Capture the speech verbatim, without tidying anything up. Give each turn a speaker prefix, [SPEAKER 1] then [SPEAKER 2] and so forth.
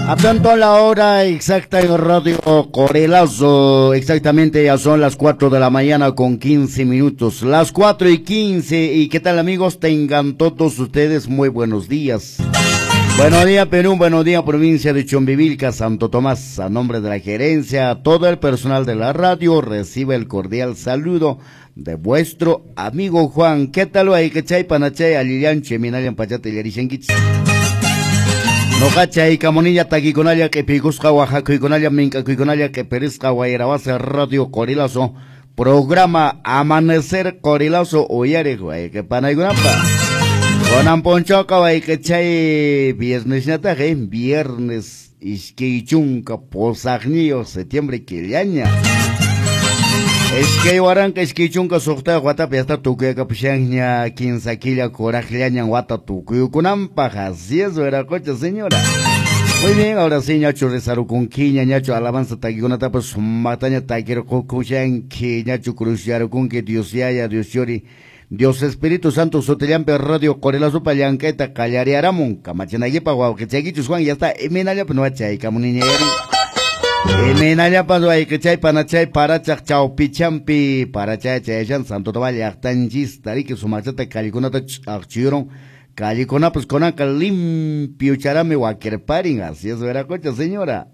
[SPEAKER 1] Atento a la hora exacta en Radio Qorilazo, exactamente ya son las cuatro de la mañana con quince minutos, las cuatro y quince, y qué tal amigos, tengan todos ustedes muy buenos días. Buenos días Perú, buenos días provincia de Chumbivilca, Santo Tomás, a nombre de la gerencia, todo el personal de la radio recibe el cordial saludo de vuestro amigo Juan. ¿Qué tal ahí? ¿Qué chay panachay? Alillanche, minayan pachate yarishenkichis. Noqachay kamunilla takikunalla q'ipiykusqa waqakuykunalla mink'akuykunalla q'ipirisqa wayrawasi Radio Qorilazo, programa Amanecer Qorilazo uyariq wayqi panaykunapa. Kunan p'unchawqa wayqichay viernesñataq, eh, viernes iskay chunka pusaqniyuq septiembre killaña. Iskay waranqa iskay chunka suqtayuq watapi hasta tukuyakapushanña kinsa killa kuraqllañan wata tukuykunanpaq. Así es, Veracocha, señora. Muy bien, ahora sí, ñachu rezarukunkiña, ñachu alabanza takikunatapas sumaqtaña takirqukushanki, ñachu cruzyarukunki, Dios yaya, Dios yori, Dios Espíritu Santo, sutillampi Radio Qorilazopa llank'ayta qallariaramun, kamachinaykipa wawqichaykichus Juan, ya está, imaynallapa nuwachaykamuniñayari. Imaynallapa wayqichay panachay parachaq chawpichampi parachay chayashan Santo Tomás llaqtanchista riki sumaqchata callekunata ch'aqchiyurun, callekunapas kunanqa limpio charami wakirparin. Así es, Veracocha, señora.